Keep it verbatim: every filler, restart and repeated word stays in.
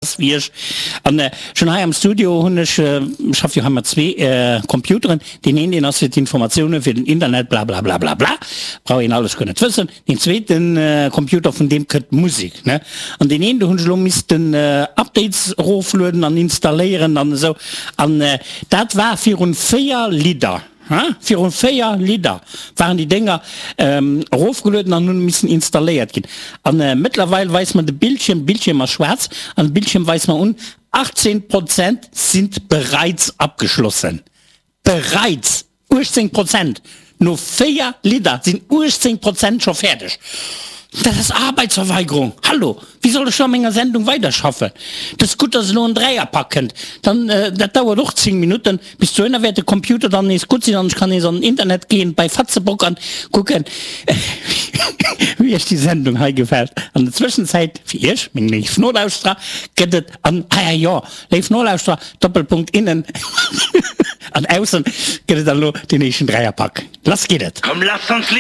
Wéi ech an schon hei am Studio hunn ech, schaff jo hei mat zwee Computeren, deen een deen ass fir d'Informatiounen, fir den Internet blablablablabla, brauch een alles guer net wëssen, deen zweeten Computer vun deem kënnt d'Musek ne, an deen een do hunn ech elo missten Updates eroflueden an installéieren an esou an dat war virun véier Lidder. Hein? Virun véier Lidder waren déi Dénger erofgelueden an hunn missen installéiert ginn. An mëttlerweil weist mer de Bildschierm, Bildschierm ass schwaarz, an de Bildschierm weist mer un, achtzehn Prozent sind bereits abgeschlossen. Bereits! uechtzéng Prozent! No véier Lidder sinn uechtzéng Prozent scho fäerdeg. Dat ass Arbeitsverweigerung! Hallo! Wéi soll ech da a menger Sendung weiderschaffen? Et ass gutt, dass elo en Dräierpak kënnt. Dann, dat dauert och zéng Minutten. Bis dohinner wäert de Computer dann nees gutt sinn an ech kann nees an den Internet gehen bei Fatzebock an kucken, wéi iech déi Sendung hei gefält. An der Zwëschenzäit, fir iech, meng léif Nolauschterer, gëtt et an, ah jo, léif Nolauschterer, Doppelpunkt innen an aussen, gëtt et dann elo deen éischten Dräierpak. Lass geet et! Komm lass ons.